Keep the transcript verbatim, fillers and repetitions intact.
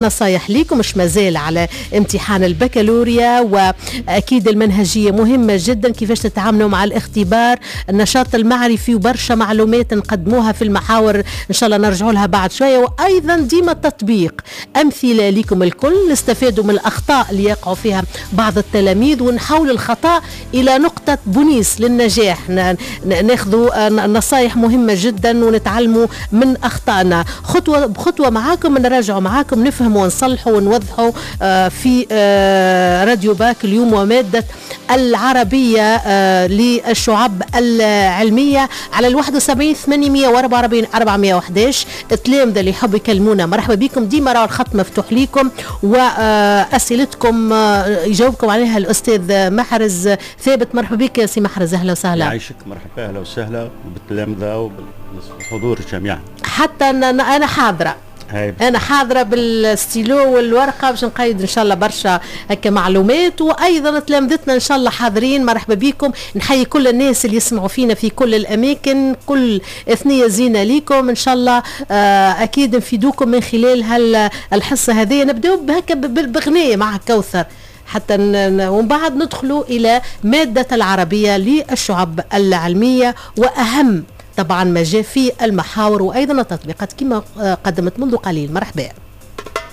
نصايح ليكم مش مازال على امتحان البكالوريا، واكيد المنهجية مهمة جدا، كيفاش تتعاملوا مع الاختبار، النشاط المعرفي وبرشا معلومات نقدموها في المحاور ان شاء الله نرجعوا لها بعد شويه، وايضا ديما التطبيق، امثلة لكم الكل نستفادوا من الاخطاء اللي يقعوا فيها بعض التلاميذ ونحول الخطا الى نقطة بونيس للنجاح. ناخذوا نصايح مهمة جدا ونتعلموا من اخطائنا خطوة بخطوة معاكم، نراجعوا معاكم، نفهم ونصلحوا ونوضحوا في راديو باك اليوم ومادة العربية للشعب العلمية على الواحد وسبعين ثمانمية وأربعة وأربعين أربعمية وحداش. التلامذة اللي يحبوا يكلمونا مرحبا بكم، ديما راه الخط مفتوح ليكم وأسئلتكم يجاوبكم عليها الأستاذ محرز ثابت. مرحبا بك يا سي محرز، أهلا وسهلا. يعيشك، مرحبا، أهلا وسهلا بالتلامذة وبالحضور جميعا. حتى أنا حاضرة، انا حاضره بالستيلو والورقة باش نقيد ان شاء الله برشا هكا معلومات، وايضا تلامذتنا ان شاء الله حاضرين، مرحبا بكم. نحيي كل الناس اللي يسمعوا فينا في كل الاماكن، كل اثنيه زينة ليكم ان شاء الله، اكيد نفيدوكم من خلال هالحصة هذه. نبداو بهكا بغنيه مع كوثر حتى ومن بعد ندخلوا الى مادة العربية للشعب العلمية، واهم طبعا ما جاء في المحاور وايضا التطبيقات كما قدمت منذ قليل. مرحبا.